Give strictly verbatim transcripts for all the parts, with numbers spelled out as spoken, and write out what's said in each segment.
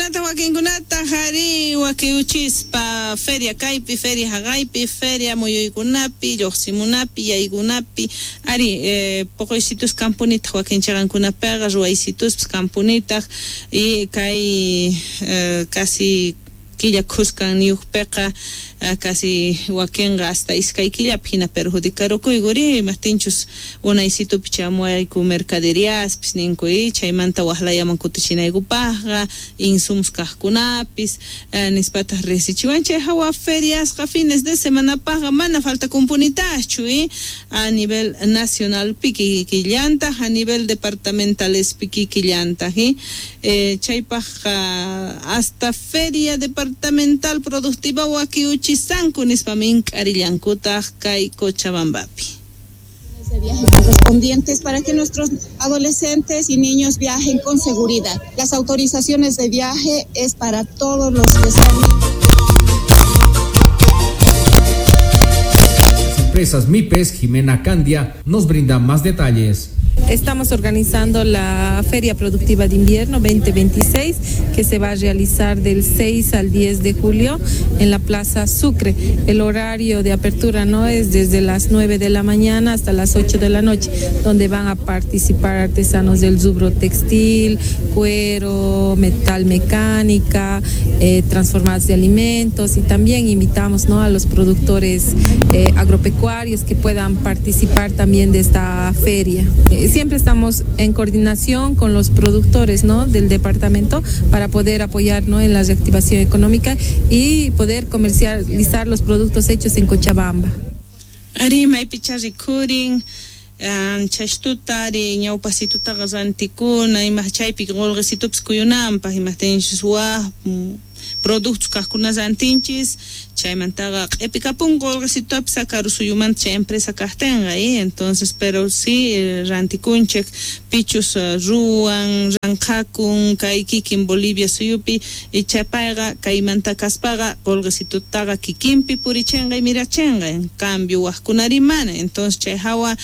Chaykunata wakinkunata ari wakiuchispa feria kaypi, feria haqaypi, feria muyuykunapi, lluqsimunapi, yaykunapi, ari eh, poqoysitus kampunitaq wakin chaqankunapiqa ruwaysituspis kampunitaq y kay eh, casi killa khuskan niyuqpiqa casi wakinqa hasta iskay killapi hina perjudicarukuykuri imaqtinchus unaysitupi chamuwayku mercaderiaspis ninku y chaymanta waqlayaman kutichinaykupaqqa insumos kaqkunapis nispataq riqsichiwan chay hawa feriasqa fines de semanapaqqa mana faltakunpunitaqchu y a nivel nacionalpi kikillantaq a nivel departamentalespi kikillantaq y eh, chaypaqqa hasta feria departamental productiva wakiuchisanku nispa mink'arillankutaq kay Cochabambapi. De viaje correspondientes para que nuestros adolescentes y niños viajen con seguridad. Las autorizaciones de viaje es para todos los que son. Las empresas MIPES, Jimena Candia, nos brinda más detalles. Estamos organizando la Feria Productiva de Invierno veinte veintiséis, que se va a realizar del seis al diez de julio en la Plaza Sucre. El horario de apertura no es desde las nueve de la mañana hasta las ocho de la noche, donde van a participar artesanos del rubro textil, cuero, metal mecánica, eh, transformados de alimentos, y también invitamos, ¿no?, a los productores eh, agropecuarios que puedan participar también de esta feria. Eh, Siempre estamos en coordinación con los productores, ¿no?, del departamento para poder apoyar, ¿no?, en la reactivación económica y poder comercializar los productos hechos en Cochabamba. Ari maypicha rikurin chashtuta ari ñawpasitutaqa rantikuna ima chaypi qullqisitupis kuyunanpaq imaqtinchus waj productos kaqkuna rantinchis chaymantaqa q'ipikapun qullqisitupis karu suyumanta chay empresa kaqtinqa y entonces pero sí rantikunchik pichus ruwan ranqakun kay kikin Bolivia suyupi y chaypayqa kaymanta kaspaqa qullqisitutaqa kikinpi purichinqa y mirachinqa en cambio waqkunari mana entonces chay hawa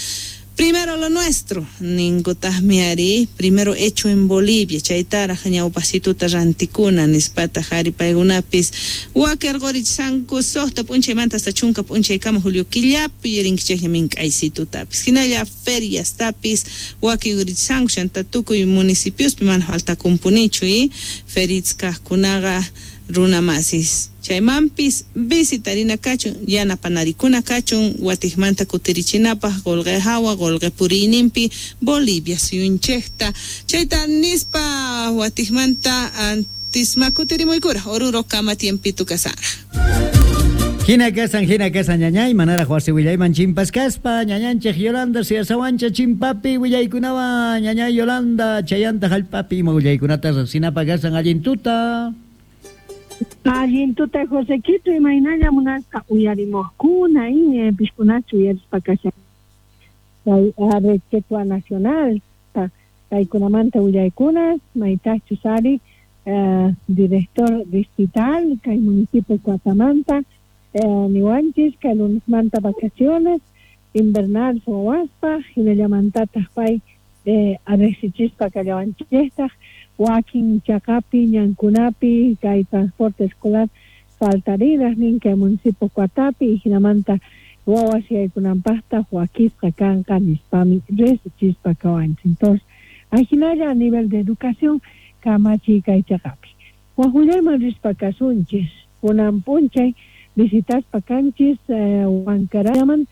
primero lo nuestro, ninkutaqmi ari, primero hecho en Bolivia, chaytaraq ñawpasituta rantikuna nispataq ari paykunapis wakirqurichsanku suqta p'unchaymanta hasta chunka p'unchaykama julio killapi yurinkichikña mink'aysitutapis hinalla feriastapis wakiyurichsanku chanta tukuy municipiospi mana faltakunpunichu y ferits kaqkunaqa runamasis chaymanpis visitarina kachun yanapanarikuna kachun watiqmanta kutirichinapaq qullqi hawa qullqi puriyninpi Bolivia suyunchikta chayta nispa watiqmanta antisma kutirimuykura Oruro kama tiempito kasara. Hina kasan, hina kasan, ñañay, manaraq wasi willayman chimpas kaspa, ñañanchik Yolanda, siyasawancha chimpapi willaykunawan, ñañay Yolanda, chayanta hallpapi ima willaykunata riqsinapa kasan allin tuta. Allin tuta Josequito, imaynalla munasqa uyarimuqkuna y pishkunachu uyarispa kashan kay Red Quechua Nacional kaykunamanta willaykunas maytaqchus ari director distrital kay municipio Cuatamanta niwanchis kay lunesmanta vacaciones invernal wawaspa hinallamantataq pay riqsichispa kallawanchiktaq wakin chaqapi ñankunapi kay transporte escolar faltarinaq nin kay municipio Cuatapi hinamanta wawas yaykunanpaqtaq wakisqa kanqa nispami riqsichispa kawanchik. Entonces ajinalla a nivel de educación kamachiy kay chaqapi waqwillayman rispa kasunchis kunan p'unchay visitaspa kanchis Huancaramanta.